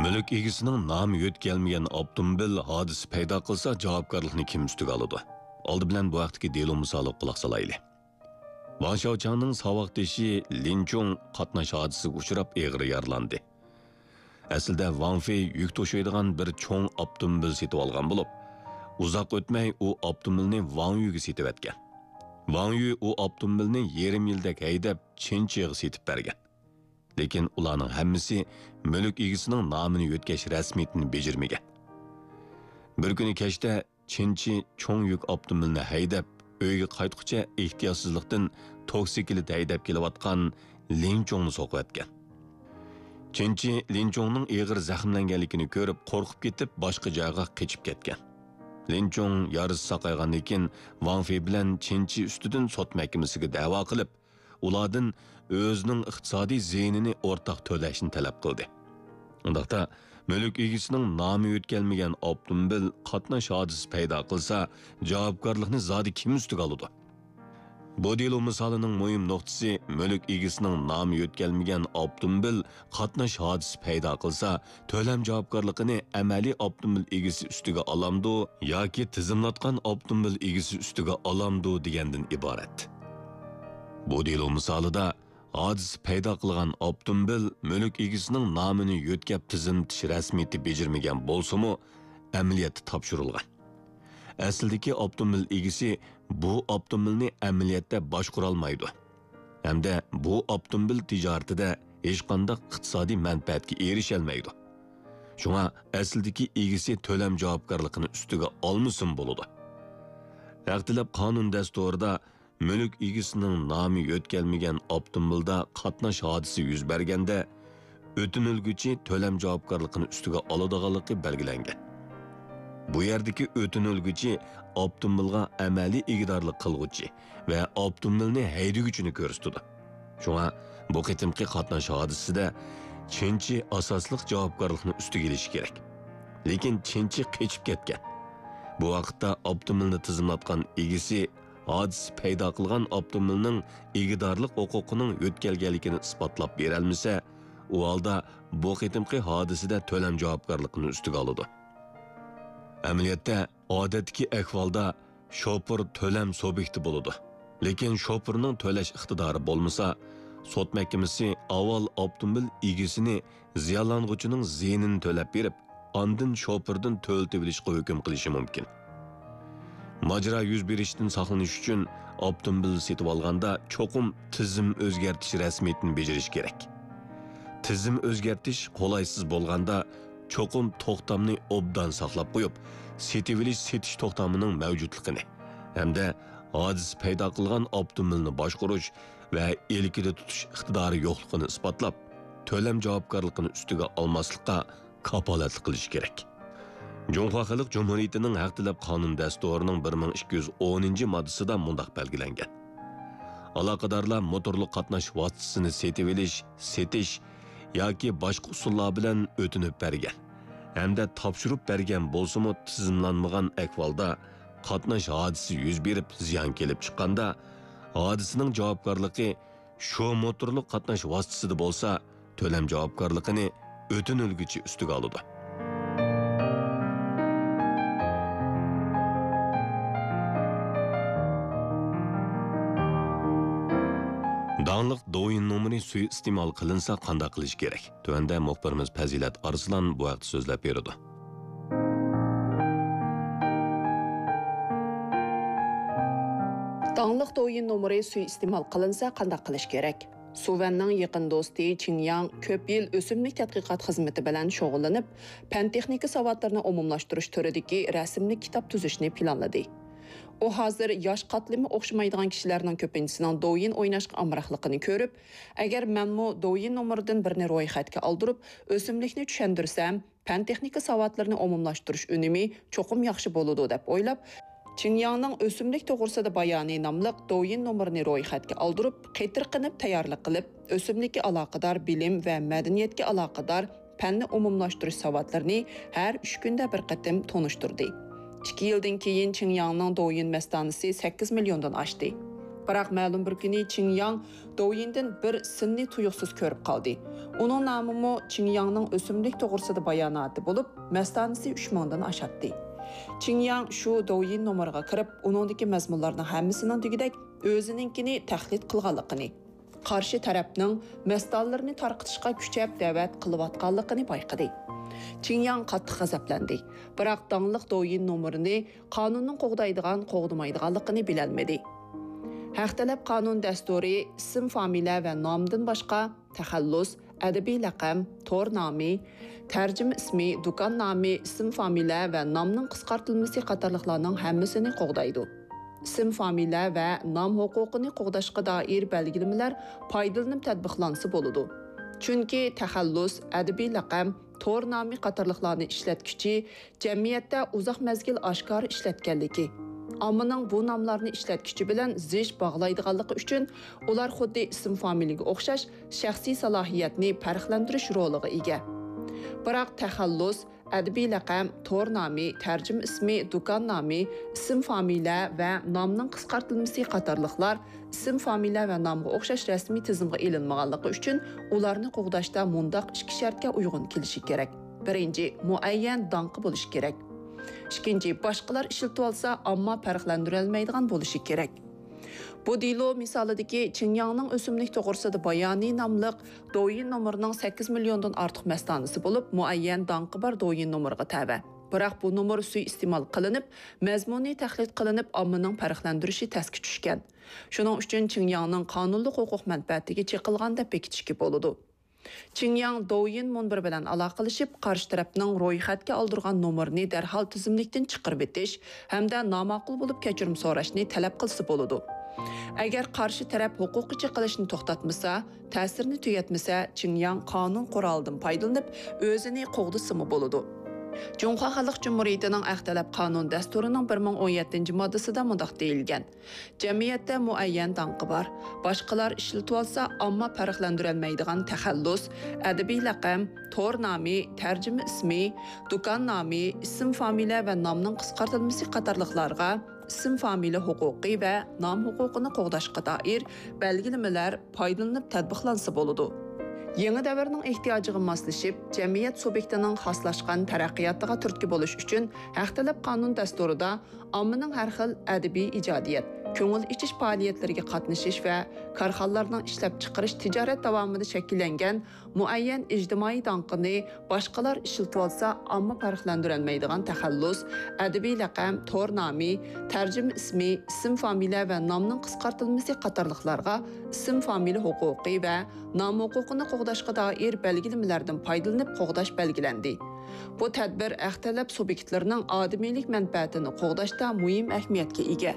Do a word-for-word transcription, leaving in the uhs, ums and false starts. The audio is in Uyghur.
مۈلۈك ئىگىسىنىڭ نامى يۆتكەلمىگەن ئاپتوموبىل ھادىسە پەيدا قىلسا، جاۋابكارلىقنى كىم ئۈستىگە ئالىدۇ؟ ئالدى بىلەن بۇ ھەقتىكى دېلو مىسالىغا قۇلاق سالايلى. ۋاڭ شياۋچاڭنىڭ ساۋاقدىشى لىن چۇڭ قاتناش ھادىسىسىگە ئۇچراپ ئېغىر يارىلاندى. ئەسلىدە ۋاڭ فېي يۈك توشۇيدىغان بىر چوڭ ئاپتوموبىل سېتىۋالغان بولۇپ، ئۇزاق ئۆتمەي ئۇ ئاپتوموبىلنى ۋاڭ يۈگە سېتىۋەتكەن. ۋاڭ يۈ ئۇ ئاپتوموبىلنى يېرىم يىلدەك ھەيدەپ، چېن چىغا سېتىپ بەرگەن. لېكىن ئۇلارنىڭ ھەممىسى مۈلۈك ئىگىسىنىڭ نامىنى يۆتكەش رەسمىيىتىنى بېجىرمىگەن. بىر كۈنى كەچتە چېن چى چوڭ يۈك ئاپتوموبىلىنى ھەيدەپ، ئۆيگە قايتقۇچە ئېھتىياتسىزلىقتىن توكسىكلىت ھەيدەپ كېلىۋاتقان لىن چۇڭنى سوقۇۋەتكەن. چېن چى لىن چۇڭنىڭ ئېغىر زەخىملەنگەنلىكىنى كۆرۈپ، قورقۇپ كېتىپ، باشقا جايغا قېچىپ كەتكەن. لىن چۇڭ يارىسى ساقايغاندىن كېيىن، ۋاڭ فېي بىلەن چېن چى ئۈستىدىن سوت مەھكىمىسىگە دەۋا قىلىپ، ئۇلاردىن ئۆزىنىڭ ئىقتىسادىي زىيىنىنى ئورتاق تۆلەشنى تەلەپ قىلدى. ئۇنداقتا، مۈلۈك ئىگىسىنىڭ نامى يۆتكەلمىگەن ئاپتوموبىل قاتناش ھادىسىسى پەيدا قىلسا، جاۋابكارلىقنى زادى كىم ئۈستىگە ئالىدۇ؟ بۇ دېلو مىسالىنىڭ مۇھىم نۇقتىسى، مۈلۈك ئىگىسىنىڭ نامى يۆتكەلمىگەن ئاپتوموبىل قاتناش ھادىسىسى پەيدا قىلسا، تۆلەم جاۋابكارلىقىنى ئەمەلىي ئاپتوموبىل ئىگىسى ئۈستىگە ئالامدۇ ياكى تىزىملاتقان ئاپتوموبىل ئىگىسى ئۈستىگە ئالامدۇ دېگەندىن ئىبارەت. بۇ دېلو مىسالىدا ھادىسە پەيدا قىلغان ئاپتوموبىل مۈلۈك ئىگىسىنىڭ نامىنى يۆتكەپ تىزىملىتىش رەسمىيىتى بېجىرمىگەن بولسىمۇ، ئەمەلىيەتتە تاپشۇرۇلغان. ئەسلىدىكى ئاپتوموبىل ئىگىسى بۇ ئاپتوموبىلنى ئەمەلىيەتتە باشقۇرالمايدۇ ھەمدە بۇ ئاپتوموبىل تىجارىتىدە ھېچقانداق ئىقتىسادىي مەنپەئەتكە ئېرىشەلمەيدۇ. شۇڭا ئەسلىدىكى ئىگىسى تۆلەم جاۋابكارلىقىنى ئۈستىگە ئالمىسىمۇ بولىدۇ. ھەق تەلەپ قانۇن دەستۇرىدا مۈلۈك ئىگىسىنىڭ نامى يۆتكەلمىگەن ئاپتوموبىلدا قاتناش ھادىسىسى يۈز بەرگەندە، ئۆتۈنۈلگۈچى تۆلەم جاۋابكارلىقىنى ئۈستىگە ئالىدىغانلىقى بەلگىلەنگەن. بۇ يەردىكى ئۆتۈنۈلگۈچى ئاپتوموبىلغا ئەمەلىي ئىگىدارلىق قىلغۇچى ۋە ئاپتوموبىلنى ھەيدىگۈچىنى كۆرسىتىدۇ. شۇڭا بۇ قېتىمقى قاتناش ھادىسىسىدە چىنچى ئاساسلىق جاۋابكارلىقنى ئۈستىگە ئېلىشى كېرەك. لېكىن چىنچى قېچىپ كەتكەن. بۇ ۋاقىتتا ئاپتوموبىلنى تىزىملاتقان ئىگىسى ھادىسە پەيدا قىلغان ئاپتوموبىلنىڭ ئىگىدارلىق ھوقۇقىنىڭ يۆتكەلگەنلىكىنى ئىسپاتلاپ بېرەلمىسە، ئۇ ھالدا بۇ قېتىمقى ھادىسىدە تۆلەم جاۋابكارلىقىنى ئۈستىگە ئالىدۇ. ئەمەلىيەتتە، ئادەتتىكى ئەھۋالدا شوپۇر تۆلەم سۇبيېكتى بولىدۇ. لېكىن شوپۇرنىڭ تۆلەش ئىقتىدارى بولمىسا، سوت مەھكىمىسى ئاۋۋال ئاپتوموبىل ئىگىسىنى زىيانلانغۇچىنىڭ زىيىنىنى تۆلەپ بېرىپ، ئاندىن شوپۇردىن تۆلىتىۋېلىشقا ھۆكۈم قىلىشى مۇمكىن. ماجىرا يۈز بېرىشتىن ساقلىنىش ئۈچۈن ئاپتوموبىل سېتىۋالغاندا چوقۇم تىزىم ئۆزگەرتىش رەسمىيىتىنى بېجىرىش كېرەك. تىزىم ئۆزگەرتىش قولايسىز بولغاندا، چوقۇم توختامنى ئوبدان ساقلاپ قويۇپ، سېتىۋېلىش-سېتىش توختامىنىڭ مەۋجۇتلۇقىنى ھەمدە ھادىسە پەيدا قىلغان ئاپتوموبىلنى باشقۇرۇش ۋە ئىلكىدە تۇتۇش ئىقتىدارى يوقلۇقىنى ئىسپاتلاپ، تۆلەم جاۋابكارلىقىنى ئۈستىگە ئالماسلىققا كاپالەتلىك قىلىشى كېرەك. جۇڭخۇا خەلق جۇمھۇرىيىتىنىڭ ھەق تەلەپ قانۇن دەستۇرىنىڭ بىر مىڭ ئىككى يۈز ئونىنچى ماددىسىدا مۇنداق بەلگىلەنگەن: ئالاقىدارلار موتورلۇق قاتناش ۋاسىتىسىنى سېتىۋېلىش، سېتىش ياكى باشقا ئۇسۇللار بىلەن ئۆتۈنۈپ بەرگەن ھەمدە تاپشۇرۇپ بەرگەن بولسىمۇ، تىزىملانمىغان ئەھۋالدا قاتناش ھادىسىسى يۈز بېرىپ زىيان كېلىپ چىققاندا، ھادىسىنىڭ جاۋابكارلىقى شۇ موتورلۇق قاتناش ۋاسىتىسىدا بولسا، تۆلەم جاۋابكارلىقىنى ئۆتۈنۈلگۈچى ئۈستىگە ئالىدۇ. داڭلىق دوۋيىن نومۇرى سۇيىئىستېمال قىلىنسا قانداق قىلىش كېرەك؟ تۆۋەندە مۇخبىرىمىز پەزىلەت ئارسلان بۇ ھەقتە سۆزلەپ بېرىدۇ. داڭلىق دوۋيىن نومۇرى سۇيىئىستېمال قىلىنسا قانداق قىلىش كېرەك؟ سۇ ۋەننىڭ يېقىن دوستى چىڭ ياڭ كۆپ يىل ئۆسۈملۈك تەتقىقات خىزمىتى بىلەن شۇغۇللىنىپ، پەن-تېخنىكا ساۋاتلىرىنى ئومۇملاشتۇرۇش تۈرىدىكى رەسىملىك كىتاب تۈزۈشنى پىلانلىدى. ئۇ ھازىر ياش قاتلىمى ئوخشىمايدىغان كىشىلەرنىڭ كۆپىنچىسىنىڭ دوۋيىن ئويناشقا ئامراقلىقىنى كۆرۈپ، ئەگەر مەنمۇ دوۋيىن نومۇرىدىن بىرنى رويخەتكە ئالدۇرۇپ، ئۆسۈملۈكنى چۈشەندۈرسەم، پەن-تېخنىكا ساۋاتلىرىنى ئومۇملاشتۇرۇش ئۈنۈمى چوقۇم ياخشى بولىدۇ، دەپ ئويلاپ، چىڭ ياڭنىڭ ئۆسۈملۈك توغرىسىدا بايانى ناملىق دوۋيىن نومۇرىنى رويخەتكە ئالدۇرۇپ، قېتىرقىنىپ تەييارلىق قىلىپ، ئۆسۈملۈككە ئالاقىدار بىلىم ۋە مەدەنىيەتكە ئالاقىدار پەننى ئومۇملاشتۇرۇش ساۋاتلىرىنى ھەر ئۈچ كۈندە بىر قېتىم تونۇشتۇردى. ئىككى يىلدىن كېيىن چىڭ ياڭنىڭ دوۋيىن مەستانىسى سەككىز مىليوندىن ئاشتى. بىراق مەلۇم بىر كۈنى چىڭ ياڭ دوۋيىندىن بىر سىننى تۇيۇقسىز كۆرۈپ قالدى. ئۇنىڭ نامىمۇ چىڭ ياڭنىڭ ئۆسۈملۈك توغرىسىدا باياناتى بولۇپ، مەستانىسى ئۈچ مىڭدىن ئاشاتتى. چىڭ ياڭ شۇ دوۋيىن نومۇرىغا كىرىپ، ئۇنىڭدىكى مەزمۇنلارنىڭ ھەممىسىنىڭ دېگۈدەك ئۆزىنىڭكىنى تەقلىد قىلغانلىقىنى، قارشى تەرەپنىڭ مەستانىلىرىنى تارقىتىشقا كۈچەپ دەۋەت قىلىۋاتقانلىقىنى بايقىدى. چىڭ ياڭ قاتتىق غەزەپلەندى. بىراق داڭلىق دوۋيىن نومۇرىنى قانۇننىڭ قوغدايدىغان، قوغدىمايدىغانلىقىنى بىلەلمىدى. ھەق تەلەپ قانۇن دەستۇرى ئىسىم، فامىلە ۋە نامدىن باشقا تەخەللۇس، ئەدەبىي لەقەم، تور نامى، تەرجىمە ئىسمى، دۇكان نامى، ئىسىم، فامىلە ۋە نامنىڭ قىسقارتىلمىسى قاتارلىقلارنىڭ ھەممىسىنى قوغدايدۇ. ئىسىم، فامىلە ۋە نام ھوقۇقىنى قوغداشقا دائىر بەلگىلىمىلەر پايدىلىنىپ تەتبىقلانسا بولىدۇ. چۈنكى تەخەللۇس، ئەدەبىي لەقەم، تور نامى قاتارلىقلارنى ئىشلەتكۈچى جەمئىيەتتە ئۇزاق مەزگىل ئاشكارا ئىشلەتكەنلىكى، ئاممىنىڭ بۇ ناملارنى ئىشلەتكۈچى بىلەن زىچ باغلايدىغانلىقى ئۈچۈن، ئۇلار خۇددى ئىسىم، فامىلىگە ئوخشاش شەخسىي سالاھىيەتنى پەرقلەندۈرۈش رولىغا ئىگە. بىراق تەخەللۇس، ئەدەبىي لەقەم، تور نامى، تەرجىمە ئىسمى، دۇكان نامى، ئىسىم، فامىلە ۋە نامنىڭ قىسقارتىلمىسى قاتارلىقلار ئىسىم، فامىلە ۋە نامغا ئوخشاش رەسمىي تىزىمغا ئېلىنمىغانلىقى ئۈچۈن، ئۇلارنى قوغداشتا مۇنداق ئىككى شەرتكە ئۇيغۇن كېلىشى كېرەك. بىرىنچى، مۇئەييەن داڭقى بولۇشى كېرەك. ئىككىنچى، باشقىلار ئىشلىتىۋالسا، ئامما پەرقلەندۈرەلمەيدىغان بولۇشى كېرەك. بۇ دېلو مىسالىدىكى چىڭ ياڭنىڭ ئۆسۈملۈك توغرىسىدا بايانى ناملىق دوۋيىن نومۇرىنىڭ سەككىز مىليوندىن ئارتۇق مەستانىسى بولۇپ، مۇئەييەن داڭقى بار دوۋيىن نومۇرىغا تەۋە. بىراق بۇ نومۇر سۇيىئىستېمال قىلىنىپ، مەزمۇنى تەقلىد قىلىنىپ، ئاممىنىڭ پەرقلەندۈرۈشى تەسكە چۈشكەن. شۇنىڭ ئۈچۈن چىڭ ياڭنىڭ قانۇنلۇق ھوقۇق مەنپەئەتىگە چېقىلغان دەپ بېكىتىشكە بولىدۇ. چىڭ ياڭ دوۋيىن مۇنبىرى بىلەن ئالاقىلىشىپ، قارشى تەرەپنىڭ رويخەتكە ئالدۇرغان نومۇرىنى دەرھال تۈزۈملۈكتىن چىقىرىۋېتىش ھەمدە ناماقۇل بولۇپ كەچۈرۈم سوراشنى تەلەپ قىلسا بولىدۇ. ئەگەر قارشى تەرەپ ھوقۇققا چېقىلىشنى توختاتمىسا، تەسىرىنى تۈگەتمىسە، چىڭ ياڭ قانۇن قورالىدىن پايدىلىنىپ، ئۆزىنى قوغدىسىمۇ بولىدۇ. جۇڭخۇا خەلق جۇمھۇرىيىتىنىڭ ھەق تەلەپ قانۇن دەستۇرىنىڭ بىر مىڭ ئون يەتتىنچى ماددىسىدا مۇنداق دېيىلگەن: جەمئىيەتتە مۇئەييەن داڭقى بار، باشقىلار ئىشلىتىۋالسا، ئامما پەرقلەندۈرەلمەيدىغان تەخەللۇس، ئەدەبىي لەقەم، تور نامى، تەرجىمە ئىسمى، دۇكان نامى، ئىسىم، فامىلە ۋە نامنىڭ قىسقارتىلمىسى قاتارلىقلارغا ئىسىم، فامىلە ھوقۇقى ۋە نام ھوقۇقىنى قوغداشقا دائىر بەلگىلىمىلەر پايدىلىنىپ تەتبىقلانسا بولىدۇ. يېڭى دەۋرنىڭ ئېھتىياجىغا ماسلىشىپ، جەمئىيەت سۇبيېكتىنىڭ خاسلاشقان تەرەققىياتىغا تۈرتكە بولۇش ئۈچۈن، ھەق تەلەپ قانۇن دەستۇرىدا ئاممىنىڭ ھەر خىل ئەدەبىي ئىجادىيەت، كۆڭۈل ئېچىش پائالىيەتلىرىگە قاتنىشىش ۋە كارخانىلارنىڭ ئىشلەپچىقىرىش تىجارەت داۋامىدا شەكىللەنگەن مۇئەييەن ئىجتىمائىي داڭقىنى باشقىلار ئىشلىتىۋالسا، ئامما پەرقلەندۈرەلمەيدىغان تەخەللۇس، ئەدەبىي لەقەم، تور نامى، تەرجىمە ئىسمى، ئىسىم، فامىلە ۋە نامنىڭ قىسقارتىلمىسى قاتارلىقلارغا ئىسىم، فامىلە ھوقۇقى ۋە نام ھوقۇقىنى قوغداشقا دائىر بەلگىلىمىلەردىن پايدىلىنىپ قوغداش بەلگىلەندى. بۇ تەدبىر ھەق تەلەپ سۇبيېكتلىرىنىڭ ئادىمىيلىك مەنپەئەتىنى قوغداشتا مۇھىم ئەھمىيەتكە ئىگە.